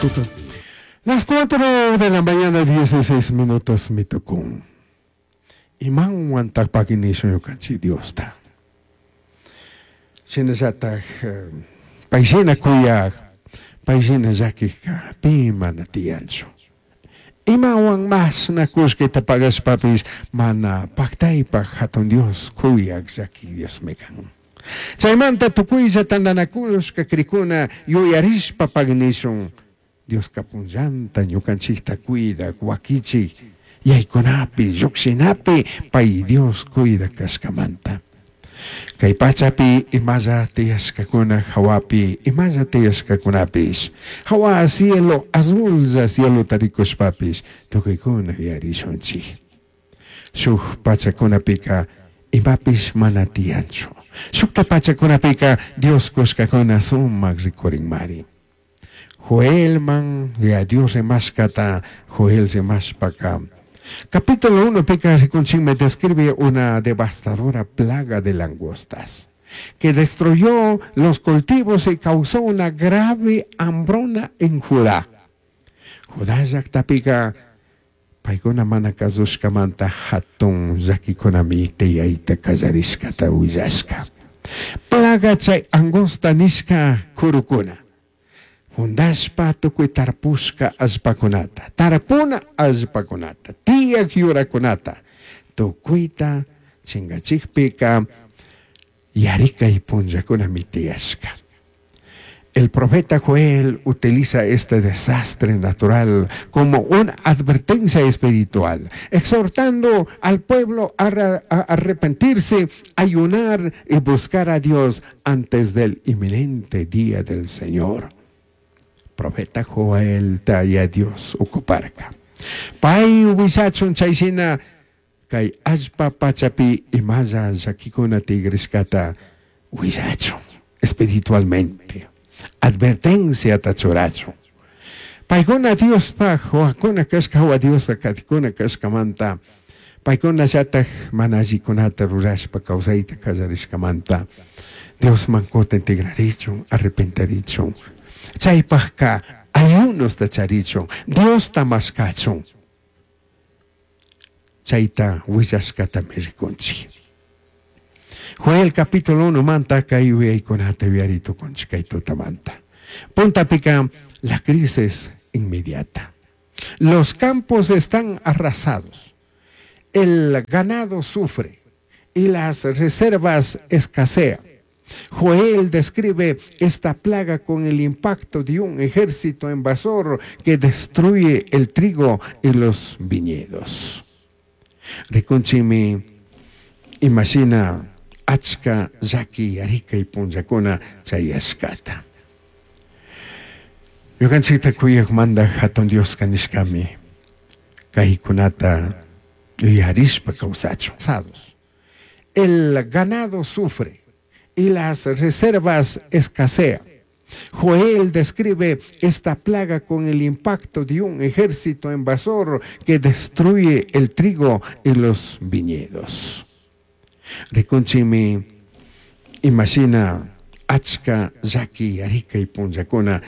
Tuta. Las 4 de la mañana, 16 minutos, mi tucun. Imahuan pagui nishun ñukanchik Diosta. Shinallataj payshina kuyaj, payshina llakijka pi mana tiyanchu. Imawan mashna kullkita pagashpapish mana pactaypaj hatun Dios kuyaj llakij Diosmi kan. Chaymanta tukuylla tantanakushka crikuna yuyarishpa pagui nishun Dioska punllanta ñukanchikta cuidak wakichik yaykunapi llukshinapi pay Dios cuidak kashkamanta. Kay pachapi imalla tiyashkakuna hawapi imalla tiyashkakunapish hawa cielo azullla cielota rikushpapish tukuykuna yuyarishunchik. Shuk pachakunapika imapish mana tiyanchu. Shukta pachakunapika Dios kushkakuna sumak rikurinmari. Joelman ya Dios rimashkata Joel rimashpaka capítulo 1 pika rikunchikmi describe una devastadora plaga de langostas que destruyó los cultivos y causó una grave hambruna en Judá. Judá llaqtapika paykuna mana kasushkamanta hatun llakikunami tiyayta qallarishkata willashka. Plaga chay angosta nishka kurukuna. Hundashpa tukuy tarpushka allpakunata, tarpuna allpakunata, tiyak yurakunata, tukuyta chingachikpika yarikay punllakunami tiyashka. El profeta Joel utiliza este desastre natural como una advertencia espiritual, exhortando al pueblo a arrepentirse, ayunar y buscar a Dios antes del inminente día del Señor. Profeta Joel taya Dios ocuparka. Pay willachun chayshina kay allpa pachapi imalla llakikuna tigrishkata willachun espiritualmente. Advertencia churachun. Paykuna Diospaj wawakuna kashka hawa Diosta katikuna kashkamanta paykuna llatak mana allikunata rurashpa kawsayta kallarishkamanta Diosman kutin tigrarichun arrepentirichun. Chaypajka ayunosta charichun Diosta mashkachun. Chayta willashkatami rikunchik. Joel capítulo 1 manta kay yuyaykunata yuyari tukunchik kay tutamanta. Puntapika la crisis inmediata. Los campos están arrasados. El ganado sufre y las reservas escasean. Joel describe esta plaga con el impacto de un ejército invasor que destruye el trigo y los viñedos. Rikunchimi imagina achka llaki yarikay punllakuna chayashkata. Ñukanchikta kuyaq mandaj hatun Dioska nishkami kaykunata yuyarishpa kawsachun. El ganado sufre y las reservas escasean. Joel describe esta plaga con el impacto de un ejército invasor que destruye el trigo y los viñedos. Rikunchimi imagina achka llaki yarikay punllakuna.